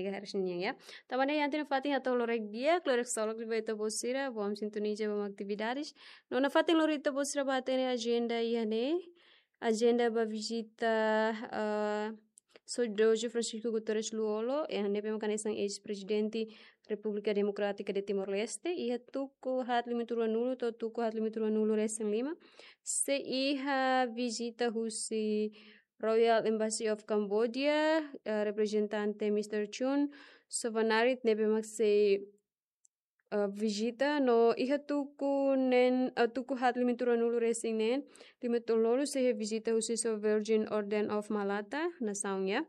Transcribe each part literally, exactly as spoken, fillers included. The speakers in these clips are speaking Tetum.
Harus nian ya. Tanba ne'e iha ita-nia fatin hato'o lorokraik di'ak, lorokraik ksolok liu ba ita-boot sira, bom sintoniza ba ita-nia atividades. No nafatin lori ita-boot sira ba hatene ajenda iha ne'e. Ajenda ba vizita, eh, Saudozu Francisco Guterres Lú-Olo, eh, ne'ebé mak hanesan eis-prezidente Repúblika Demokrátika de Timor-Leste, iha tuku haat limituru nulu to'o tuku haat limituru nulu resin lima. Sei iha vizita husi Royal Embassy of Cambodia, eh, reprezentante mister Chun Sovanarit ne'ebé mak sei, eh, vizita no iha tuku neen, eh, tuku haat limituru nulu resin neen, limituru nulu sei iha vizita husi Sir Virgin Order of Malta, nasaun ya.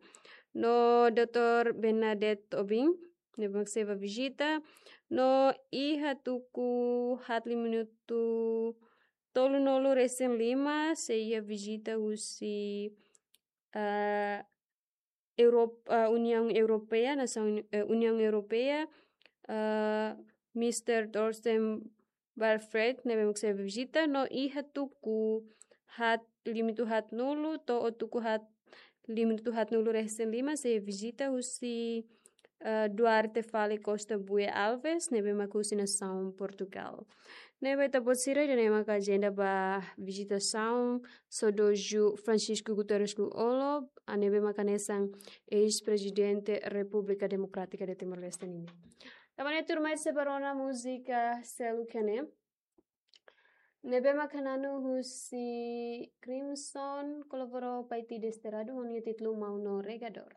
No doutór Bernadette Tobing, ne'ebé mak sei bá vizita. No iha tuku haat limituru tolunulu resin lima, sei iha vizita husi, eh, Europ-, eh, Uniaun Europeia, nasaun, eh, Uniaun Europeia, eh, mister Thorsten Barfred, ne'ebé mak sei bá vizita, no iha tuku haat limituru haatnulu, to'o tuku haat limituru haatnulu resin lima, sei vizita husi, eh, Duarte Fale Costa Bue Alves, ne'ebé mak husi nasaun Portugal. Ne'ebé ita-boot sira, ida-ne'e maka ajenda ba vizitasaun Saudozu Francisco Guterres Lú-Olo, ah, ne'ebé mak hanesan eis-prezidente Repúblika Demokrátika de Timor-Leste nian. Tanba ne'e tuirmai sei bá rona múzika seluk iha ne'e. Ne'ebé mak hananu husi Crimson, kolabora Paiti Desterrado, ho nia títulu Maun no Regador.